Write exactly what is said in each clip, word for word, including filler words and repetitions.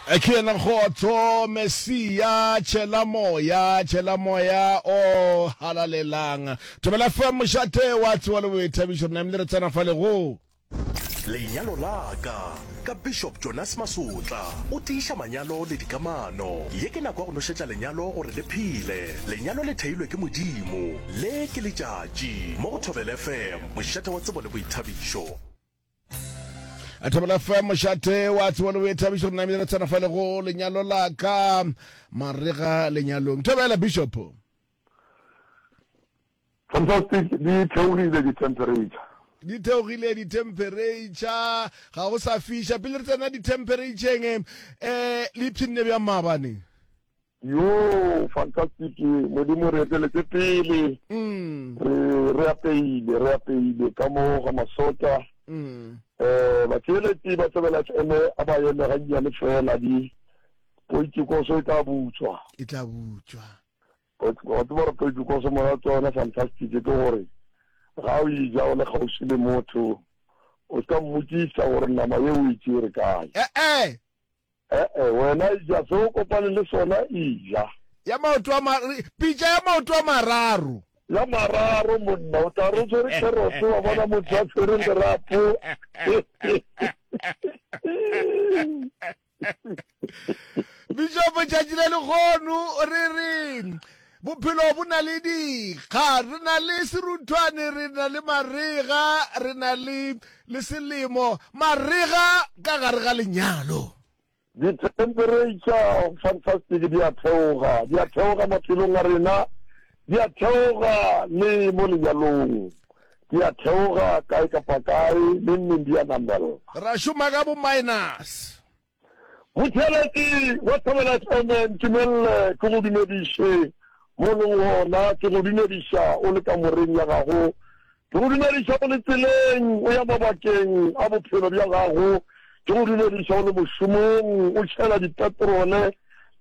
Ke yena Kgotso Mesia, tšhela moya, tšhela moya o halalelang. Thobela F M, mošate wa tsebo le boithabišo. Re namile re tsena fa le go Lenyalo la ka ka Bishop Jonas Masotla o tiiša manyalo le dikamano. Ye ke nako ya go nošetša lenyalo gore le phele. Lenyalo le theilwe ke Modimo. Le ke letšatši mo go Thobela F M, mošate wa tsebo le boithabišo. Thobela F M, mošate wa tsebo le boithabišo. Re namile re tsena fa le go Lenyalo la ka, marega lenyalong. Thobela, Bishop. Fantastic, di theogile di-temperature. Di theogile di-temperature, ga go sa fiša. Pele re tsena di-temperatureng, um le ipshinne bjang maabane? Yo, fantastic, Modimo re eteletse pele. Mm. re re apeile, re apeile ka mo ga Masota. Mm. um batheeletši ba Thobela F M a ba eme gannyane fela, di poitikoso e tla butswa. E tla butswa. Wa tseba gore poitikoso monate wa yona, fantastic, ke gore ga o ija o le kgauswi le motho, o ska mmotšiša gore nama ye o e tšere kae. Ee. Ee, wena ija se o kopane le sona, ija. Ya maoto a ma pitša ya maoto a mararo. Ya mararo, monna, o tla re o tshwere carrot, wa bona motho a tshwere lerapo. Bishop, tšatši le lekgono re re bophelo bo na le dikga. Re na le seruthwane, re na le marega, re na le le selemo. Marega ka gare ga lenyalo. Di-temperature, fantastic, di a theoga, di a theoga maphelong a rena, di a theoga le mo lenyalong, di a theoga kae kapa kae, le nneng di a namela. Ra šoma ka bo minus. Motheletši wa Thobela F M, ntumelele ke go dumediše mo leng gona. Ke go dumediša o le kamoreng ya gago, ke go dumediša o le tseleng o ya mabakeng a bophelo bja gago, ke go dumediša o le mošomong o tšhela dipetrole,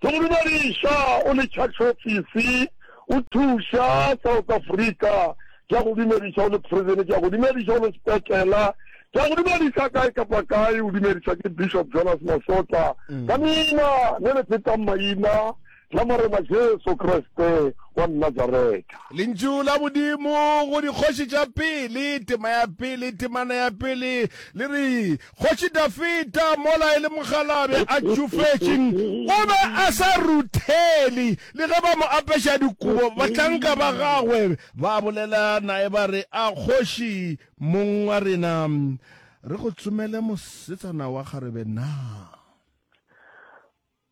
ke go dumediša o le church office o thuša South Africa, ke a go dumediša o le prison, ke a go dumediša o le sepetlela, ke a go dumediša kae kapa kae. O dumediša ke Bishop Jonas Masotla ka leina le le fetang maina la Morena Jesu Kriste wa Nazareta. Lentšu la Modimo go Dikgoši tša Pele, tema ya pele, temana ya pele, le re Kgoši Dafita mola e le mokgalabje a tšofetše, o be a sa ruthele le ge ba mo apeša dikobo. Bahlanka ba gagwe ba bolela naye ba re, a kgoši mong wa rena, re go tsomele mosetsana wa kgarebe na?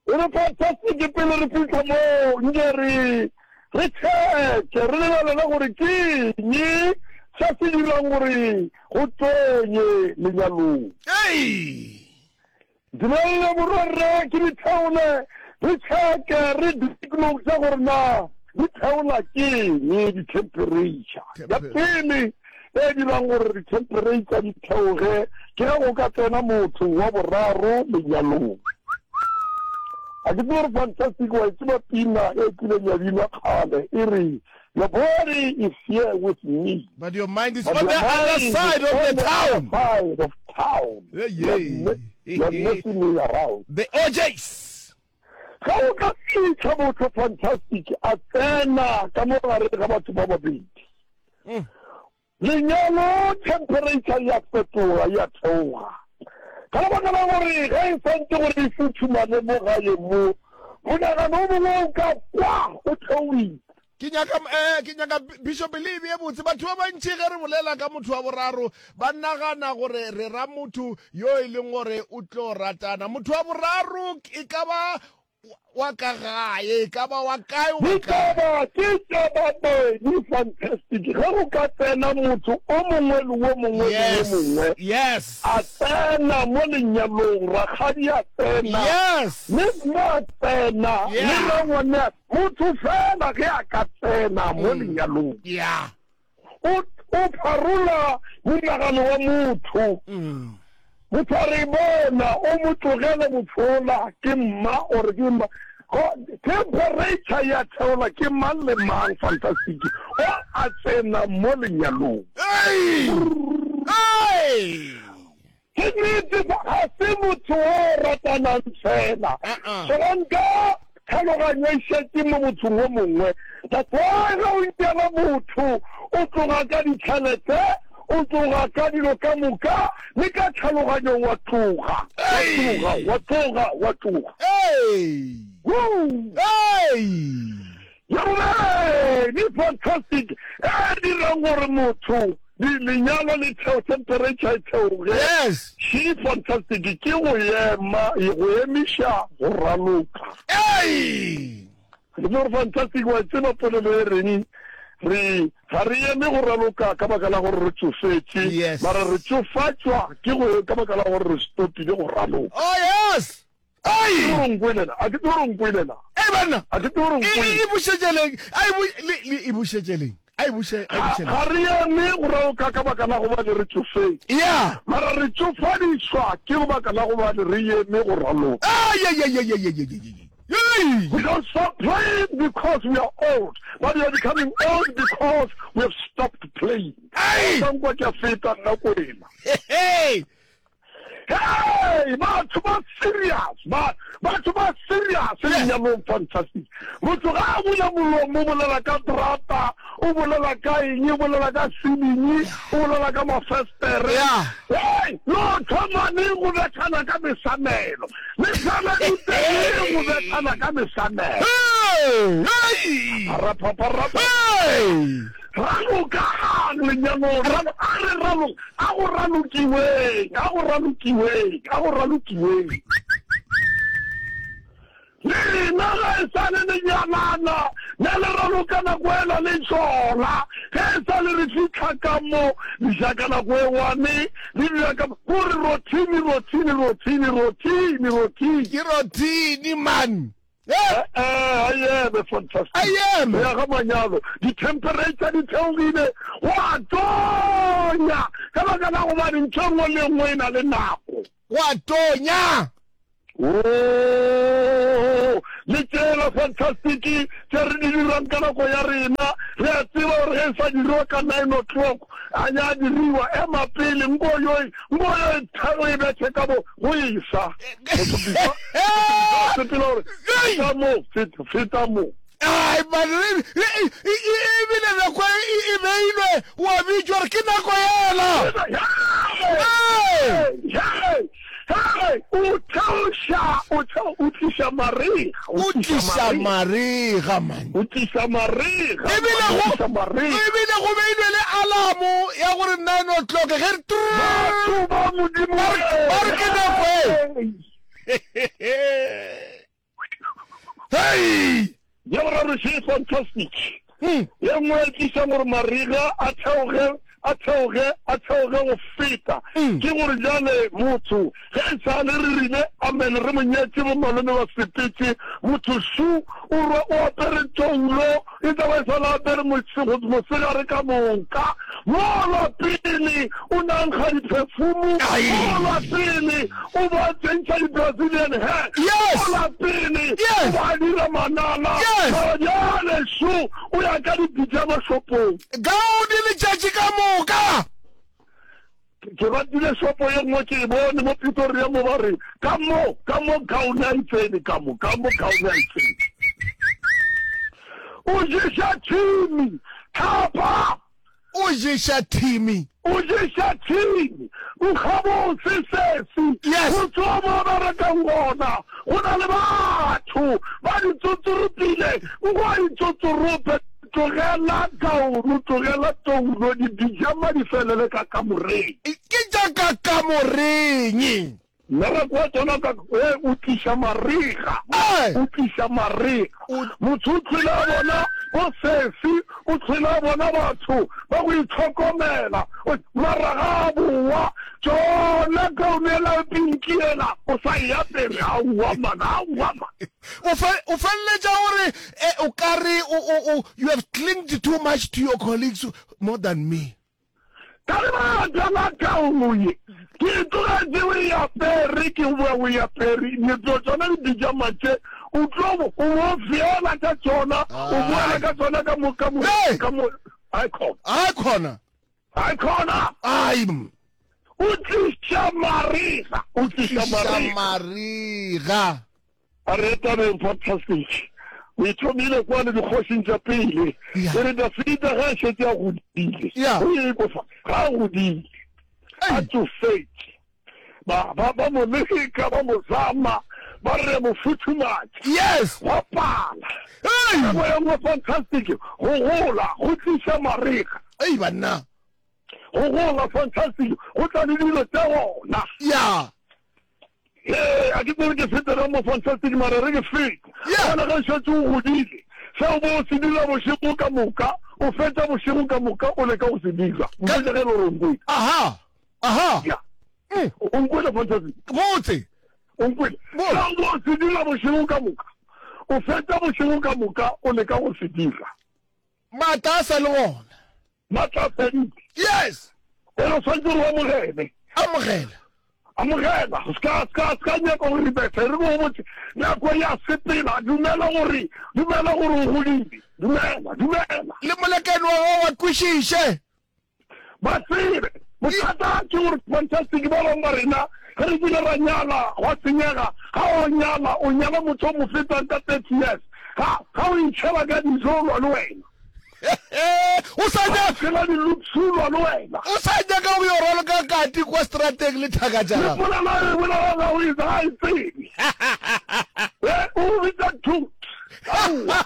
E re, fantastic, pele re fitlha mo, nke re re checke, re lebelele gore ke eng se se dirang gore go tonye lenyalong. Ei. Dumelele, morwarre, ke ditheole, re checke, re diagnose gore na di theola ke eng di-temperature. Ya pele e dirang gore di-temperature di theoge ke ge go ka tsena motho wa boraro lenyalong. A ke tsebe gore, fantastic, wa e tseba pina e kileng ya binwa kgale e re, "Your body is here with me, but your mind is but on your the other mind is side of on the the town." other side of town. Yeah, You're yeah. me- you're messing me around. The O Js. Ga o ka fitlha motho, fantastic, a tsena ka mo gare ga batho ba babedi, Mm. lenyalo temperature ya fetoga, ya theoga, ka lebaka la gore ge e santse gore e futhumane mo gae, mo monagano o mongwe o ka kwa o theoile. Ke nyaka eh ke nyaka Bishop le be botse. Batho ba bantši ge re bolela ka motho wa boraro ba nagana gore re ra motho yo e leng gore o tlo ratana. Motho wa boraro e ka ba wa ka gae, e ka ba wa kae, wa kae. Ditaba ke tša babedi, fantastic. Ge go ka tsena motho o mongwe le wo mongwe le wo yes mongwe yes a tsena mo lenyalong, rakgadi a tsena, yes le mme a tsena, le Yeah. rangwane a motho fela, ge a ka tsena mo lenyalong, yeah o o pharola monagano wa motho. mm. Motho a re bona o mo tlogele mothola ke mma or ke mma. Go- temperature ya theola ke mang le mang, fantastic, o a tsena mo lenyalong. Hey, hey. Ke nnete, ga se motho o rata. ratanang fela. Uh-uh. Solanka tlhaloganyo e šetše mo mothong o mongwe. That's why ge o nyala motho o tloga ka ditšhelete, o tloga ka dilo ka moka, le ka tlhaloganyong wa tloga, wa tloga, wa tloga, wa tloga. Hey! Woo! Hey! Ya bobedi, fantastic, e dirang gore motho lenyalo le theo, temperature e theoge. Yes. She fantastic ke go ema, go emiša go raloka. Hey! Ke gore fantastic wa tseba polelo e reng re ga re eme go raloka ka baka la gore re tsofetše, Yes. mara re tsofatšwa ke go ka baka la gore re stopile go raloka. Oh yes. Ai! Ke gore nkwelela, a ke tsebe gore nkwelela. Ei banna. A ke tsebe gore E nkwele. e bušetšeleng. A e bu le le e bušetšeleng. A e buše a e Ga bušeleng. ga re eme go raloka ka baka la gobane re tsofetše. Yeah. Mara re tsofadišwa ke go baka la gobane re eme go raloka. Ai ai ai ai ai ai ai. Ai. We don't stop playing because we are old, but we are becoming old because we have stopped playing. Ai. Ka nkwa ke a feta nna kwena. Hey! Hey, batho ba serious, ba batho ba serious lenyalong fantastic. Motho ga a bula molomo o bolela ka terata, o bolela ka eng, o bolela ka ceiling, o bolela ka mafestere. Yeah. Hey, no thoma neng go bethana ka mesamelo. Mesamelo teng go bethana ka mesamelo. Hey! Hey! Rapapapa. Hey! Ralokang lenyalong, ralo- a re ralo- a go ralokiweng, a go ralokiweng, a go ralokiweng. Lena ga e sa le lenyalana, ne le raloka nako ela le tšola. Ge e sa le re fitlha ka mo, le ja ka nako e one, le dira ka kore routine, routine, routine, routine, routine. Ke routine man. Eh, Eh, eh, a eme fantastic. A eme. Go ya ga manyalo, di-temperature di theogile, wa tonya. Ka baka la gobane ntho e nngwe le nngwe e na le nako. Wa tonya. Oh, le tsela fantastic tše re di dirang ka nako ya rena, re a tseba gore ge e sa diriwa ka nine o'clock, a nya diriwa, ema pele, nko yo e, nko yo e tharo e bethe ka bo, go isa. Motho before, sepela gore, feta mo, feta, feta mo. Ai man, ebile nako e e beilwe wa bitšwa gore ke nako yela. Hey! Hey! Hey! O theoša, o theo, o tliša mariga, O tliša mariga man. O tliša mariga, Ebile o go tliša mariga. ebile go beilwe le alamo ya gore nine o'clock ge re Batho ba Modimo, Ba re- ba re ke nako e. Hey! Ya boraro še fantastic. Hmm. Ye nngwe e tlišang gore mariga a theoge, a theoge, a theoge go feta. Mm. Ke gore jale motho ge e sa le re rile amen re mo nyetse bo malome ba sepetse, motho šu o rwa o apere toulo, e tla ba e sala apere mosego, mosegare ka moka. Mola pele o nankga di-perfume, Ai. mola pele o ba tsentšha di-Brazilian hair, Yes. mola pele Yes. o ba dira manala. Yes. Mara bjale šu o ya ka dipijama shopong. Gaudi letšatši ka moka. Ke ratile shopo ye nngwe ke e bone mo Pretoria mo ba re ka mo, ka mo gown a e tsene, ka mo, ka mo gown a e tsene. O ješa thimi, thapa. O ješa thimi. O ješa thimi. Nkgabotse sesi. Yes. Go tswa mo ba rekang gona, go na le batho ba ditsotsoropile, nko a ditsotsorope. Tlogela taolo, tlogela toulo, dipijama di felele ka kamoreng. Ke tša ka kamoreng. Mmereko wa tsona ka, eh, o tliša mariga. Ai. O tliša mariga. O- Motho o tlhwele a bona bo sesi, o tlhwele a bona batho ba go itlhokomela. O- Mara ga a boa, tšona gown ela pinki ela, o sa e apere. Aowa man, aowa man. O fe- o feleletša gore, eh, o ka re o, o, o, you have clinged too much to your colleagues more than me. Ka lebaka la gown ye, ke e tlogetše o e apere, ke boa o e apere. Ditlo tšona dipijama tše, o tlo bo, o bo feela ka tšona, o boela ka tšona ka mo, ka mo, Hey! ka mo, ai khona. Ai khona. Ai khona. Ai. O tliša marega. O tliša marega. Marega. A re tabeng fantastic. O e thomile kwa le dikgošing tša pele. E re Dafida ge a šetše a godile. O e kwa fa. Ga a godile. A tsofetše. Ba, ba, ba mo leka, ba mo zama, ba re mo futhumatša. Yes. Gwa pala. Hey. Nako ye nngwe fantastic, go gola, go tliša marega. Ei banna. Go gola fantastic, go tla le dilo tša gona. Ya. Ee, a ke tsebe ke fete ga mo fantastic mara re ke fete. Yeah. Gona ge šetše o godile, seo bo o se dira bošego ka moka, o fetša bošego ka moka o leka go se dira. Mpotše ge e le gore o nkwele. Aha. Aha. Ya. Mm. O nkwele fantastic. Botse. O nkwele. Botse. Seo bo o se dira bošego ka moka, o fetša bošego ka moka o leka go se dira. Maatla a sa le gona. Maatla a fedile. Yes. E re o swanetše gore o amogele. Amogela. Amogela. O ska, ska, ska nyaka go ribetha. E re go botse, nako ya sepela. Dumela gore, dumela gore o godile. Dumela, dumela. Le molekane wa gago wa kwešiše. Ba tsebe. Bothata ke gore fantastic ba bangwe ba rena ge re kile ra nyala gwa senyega. Ga o nyala, o nyala motho o mo fetang ka thirty years. Ga, ga o itšhela ka dijo o lwa le wena. O sa Ga o tshela di-loops o lwa le wena. O sa nyaka go yo raloka kati kwa strateng le thaka tša Le gago. polelo e bolela ga o e ga e tsebe. Eh, o bitsa toot. Aowa.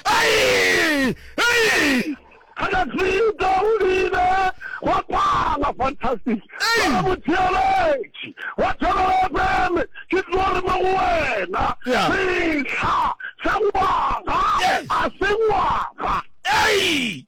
Ai! Ai! Ga ka feta o dile gwa pala fantastic. Ei! Ba motheeletši wa Thobela F M ke tlo re mo go wena. Yeah. Sehla sa ngwaga Yes. a se ngwaga. Ei!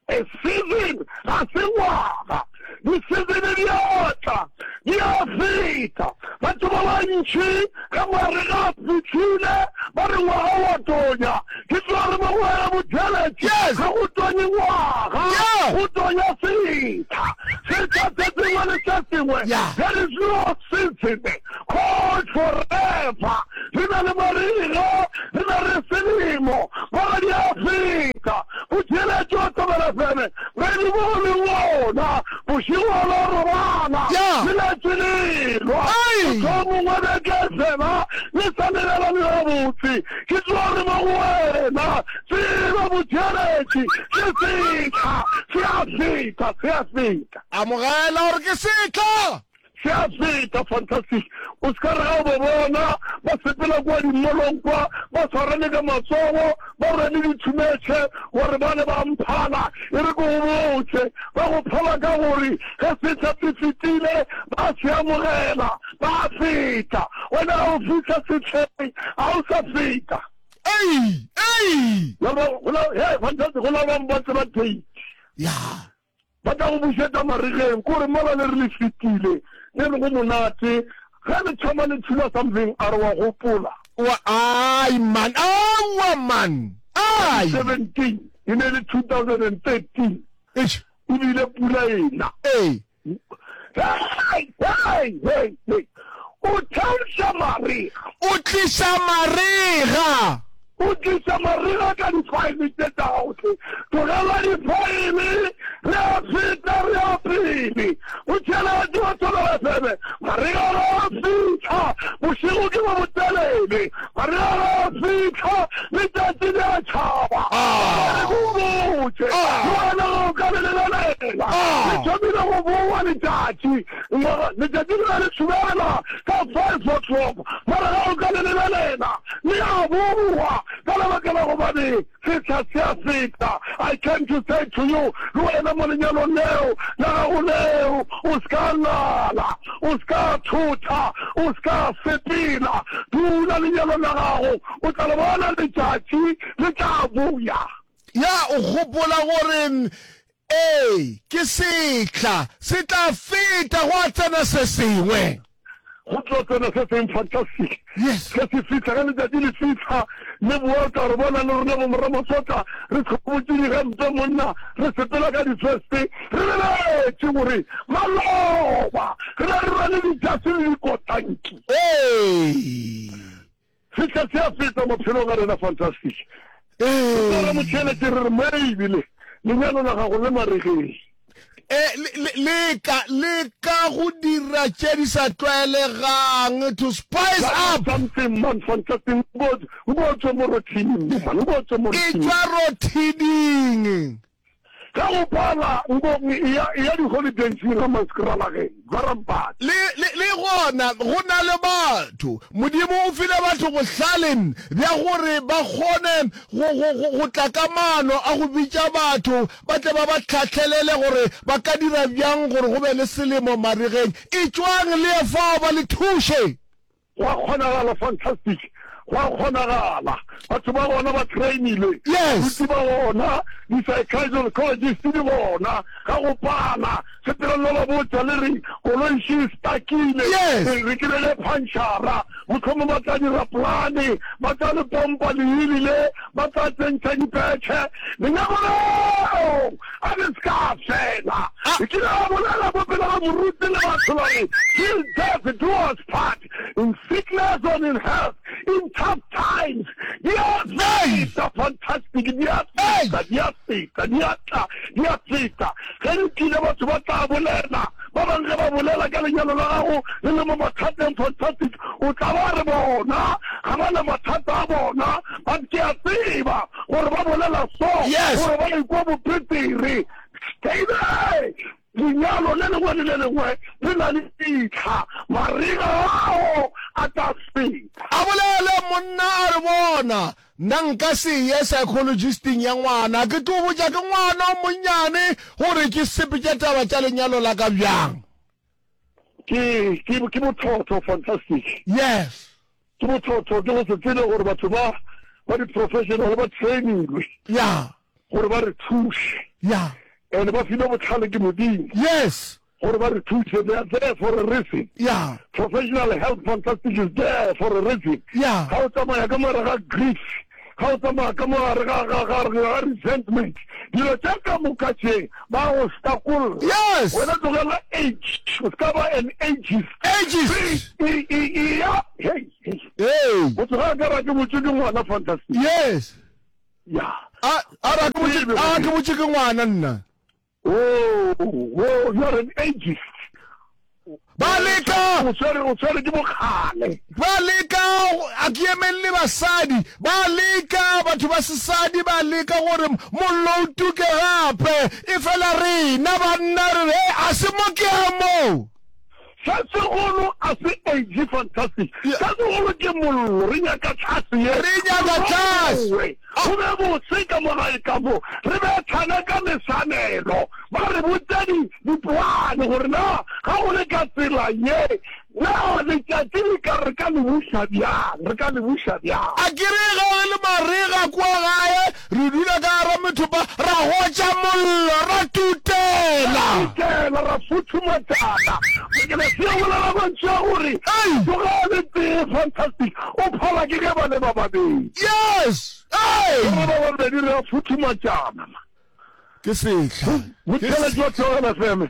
A season ga se ngwaga. Di-season di a tla, di a feta. Batho ba bantši ge marega a fihlile ba re ngwaga wa tonya. Ke tlo re mo go wena motheeletši. Yes. Ga go tonye ngwaga, Yeah. go tonya sehla. Sehla se sengwe le se sengwe. Yeah. There is no season called forever. Re na le marega, re na le selemo, mara di a feta. Motheeletši wa Thobela F M, re di bone bona, bošego la robala, Yeah. le letše lelwa. Ai. Motho o mongwe beke fela, le sa lebela le gabotse. Ke tlo re mo go wena, tseba motheeletši, ke sehla, se a feta, se a feta. Amogela gore ke sehla. Se a feta, fantastic. O se ka re ga o ba bona ba sepela kwa dimolong kwa, ba tshwarane ka matsogo, ba rwele dithumetšhe gore ba ne ba mphala. E re ke go botse, ba go phala ka gore ge sehla se fetile ba se amogela, ba feta. Wena ga o fihla sehleng, ga o sa feta. Ei! Ei! Ba ba- go la- hey, fantastic, go la bangwe ba tseba date. Ya. Ba tla go bušetša maregeng, ke gore mola le re le fetile, le re go monate, ge le thoma le thula something, a re wa gopola. Wa ai man, awa man. Ai. seventeen, e ne le two thousand and thirteen. Eish. Ebile pula ena. Ei. Hey, hey, hey, hey. O theoša marega. O tliša marega. O tliša marega ka difaele tše tša gago. Tlogela difaele, re a feta, re a pele. O tšhelete wa Thobela F M, marega ga a fihla, bošego ke bo botelele. Marega ga a fihla, letšatši le a tšhaba. Ah. Re go botše, Ah. le wena ga o ka le lebelela. Ah. Le thomile go boa letšatši. Ngwaga, letšatši le be le thubela ka five o'clock. Mara ga o ka le lebelela, le a boa. Ka lebaka la gobane sehla se a feta. I came to say to you, le wena mo lenyalong leo, la gago leo, o se ka lala, o se ka thotha, o se ka sepela. Dula lenyalong la gago, o tla le bona letšatši le tla boya. Ya o gopola gore ee ke sehla se tla feta go a tsena se sengwe. Go tlo tsena se seng fantastic. Yes. Ge se fihla, ge letšatši le fihla, le boa o tla re bona le rena bo moramatsotla, re tlhobotše digempe monna, re sepela ka difeste, re lebetše gore maloba re be re rwele dijase le dikotanki. Ee. Sehla se a feta maphelong a rena fantastic. Ee. Re motheeletše re re maybe lenyalo la gago le maregeng. Eh, le- le- leka leka go dira tše di sa tlwaelegang to spice up Something man fantastic nko nko tswe mo routine man nko tswe mo e routine. tšwa routine Ka go pala nko ya ya di holidays ga maskralageng barampati. le le le gona go na le batho modimo o file batho bohlale bja gore ba kgone go go go go tla ka maano a go bitša batho ba tle ba ba tlhatlhelele gore ba ka dira bjang gore go be le selemo marigeng e tšwang le ye fao ba le thuše Gwa kgonagala fantastic gwa kgonagala batho ba gona ba trainilwe Yes. baruti ba gona di-psychologist di gona ga go pala sepeleng le ba botša le re koloi še e stakile Yes. re kry-ile punchara mohlomong ba tla dira polane ba tla le pompa leili le ba tla tsentšha dipetšhe lenyako leo a le se ka fela Ah. ke kile ga bolela mo pele ga moruti le batho ba re till death do us part in sickness or in health in tough times di a feta fantastic di a feta di a feta di a tla di a feta ge re tlile batho ba tla bolela ba bangwe ge ba bolela ka lenyalo la gago le le mo mathateng fantastic o tla ba re bona ga ba na mathata a bona ba ke a tseba gore ba bolela so Yes. gore ba ikwa bopetere stay there lenyalo le lengwe le le lengwe le na le ditlha marega ao a tla feta a bolele monna a re bona nna nka se ye psychologisting ya ngwana ke tlo botša ke ngwana o monnyane gore ke sepetše taba tša lenyalo la ka bjang ke ke ke bothotho fantastic yes ke bothotho ke go se tsebe gore batho ba ba di-professional ba trainilwe ya gore ba re thuše ya and ba filwe botlhale ke modimo yes gore ba re thuše they are there for a reason ya professional health fantastic is there for a reason ya ga o tsamaya ka mogare ga grief ga o tsamaya ka mogare ga ga ga ga resentment dilo tše ka moka tše ba go stakolla yes wena tlogela age o se ka ba an ageist ages E- e- e- ya hey hey hey motho ga a ka ra ke botse ke ngwana fantastic yes ya a a ra ke botše a ke botše ke ngwana nna oh oh you are an ageist ba leka o tshwere o tshwere ke bokgale ba leka a ke emelele basadi ba leka batho ba sesadi ba leka gore mollo o tuke gape e fela rena banna re re a se mo ke a moo sa segolo a se age fantastic Yeah. sa segolo ke mollo re nyaka tlhase ye Re nyaka tlhase. Re go be bose ka mo gae ka mo re be tshane ka mesanelo ba re botse di- dipoane gore na ga go le ka tsela ye na letšatši le ka re ka le buša bjang re ka le buša bjang a ke re ge re le marega kua gae re dula ka gara methopa ra gotša mollo ra tutela tutela ra futhumatšana ke na se bolela mantšu a gore Ei! tsoga le tee fantastic o phala ke ge ba le ba babedi yes ei Re ba babedi re a futhumatšana ke sehla motheletši wa Thobela F M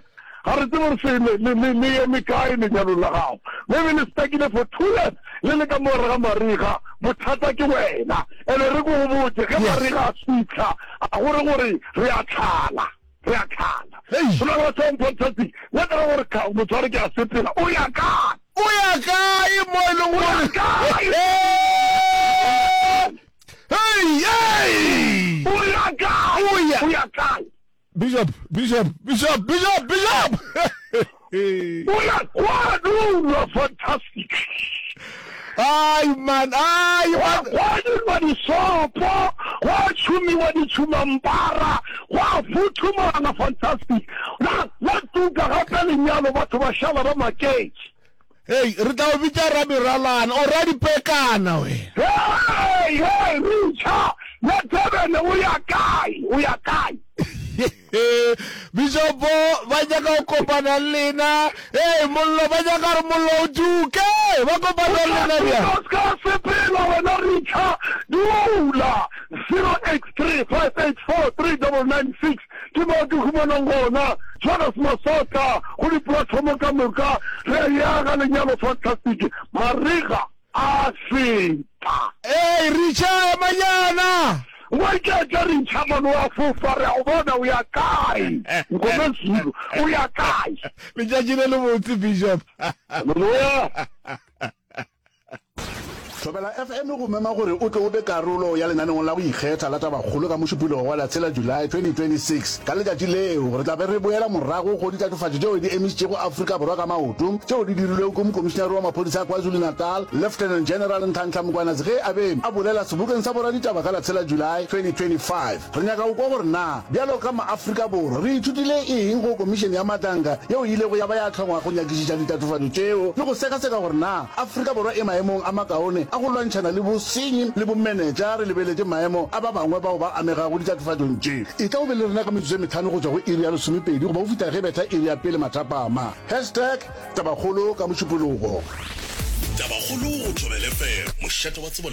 ga re tsebe gore se le- le le- le eme kae lenyalong la gago maybe le stakile for two years le le ka mogare ga mariga bothata ke wena ene re ko go botse ge Yes. mariga a fitlha a gore gore re a tlhala re a tlhala Hei. go na le batho ba fantastic nna ke ra gore ka- motho wa re ke a sepela o ya kae o ya kae mo e leng O ya gore kae? Hey, hey! o ya kae O ya- o ya kae Bishop, Bishop, Bishop, Bishop, Bishop! o ya kwa dulwa fantastic Ai man, ai man. gwa dirwa disopo gwa tšhumiwa ditšhumampara gwa futhumana fantastic la la tuka gape lenyalo batho ba šala ba maketše Hey, re tla o bitša rameralana o radipekana wena. hei hei richa ya Durban o ya kae o ya kae Bishop ba nyaka go kopana le lena. Hey, mollo ba nyaka gore mollo o tuke. Ba kopana le lena bjang? o ska sepela wena richa dula zero eight three five eight four three double nine six ke mo ke humanang gona Jonas Masota go diplatformo ka moka re ya ga lenyalo fantastic mariga a feta Hey, Richa emanyana. Ngwaiketše re ntšha mano wa fofa, re a go bona o ya kae. Mngomezulu, o ya kae? Letšatši le lebotse, Bishop. Haleluya. Thobela F M e go mema gore o tle o be karolo ya lenaneong la go ikgetha la Tabakgolo ka Mošupologo wa la tshela July twenty twenty-six. Ka letšatši leo, re tla be re boela morago go ditatofatšo tšeo di emišitšego Afrika Borwa ka maoto tšeo di dirilwego ke Mokomišinare wa Maphodisa a KwaZulu-Natal, Lieutenant General Nhlanhla Mkhwanazi ge a be a bolela sebokeng sa boraditaba ka la tshela July twenty twenty-five. Re nyaka go kwa gore na bjalo ka maAfrika Borwa re ithutile eng go Komišene ya Madlanga yeo e ilego ya ba ya hlongwa go nyakišiša ditatofatšo tšeo le go sekaseka gore na Afrika Borwa e maemong a makaone a go lwantšhana le bosenyi le bomenetša re lebeletše maemo a ba bangwe bao ba amegago ditatofatšong tše. Etla o be le rena ka metsotso e mehlano go tšwa go iri ya lesomepedi goba go fihla ge betha iri ya pele mathapama. Hashtag Tabakgolo ka Mošupologo. Tabakgolo go Thobela F M, mošate wa tsebo le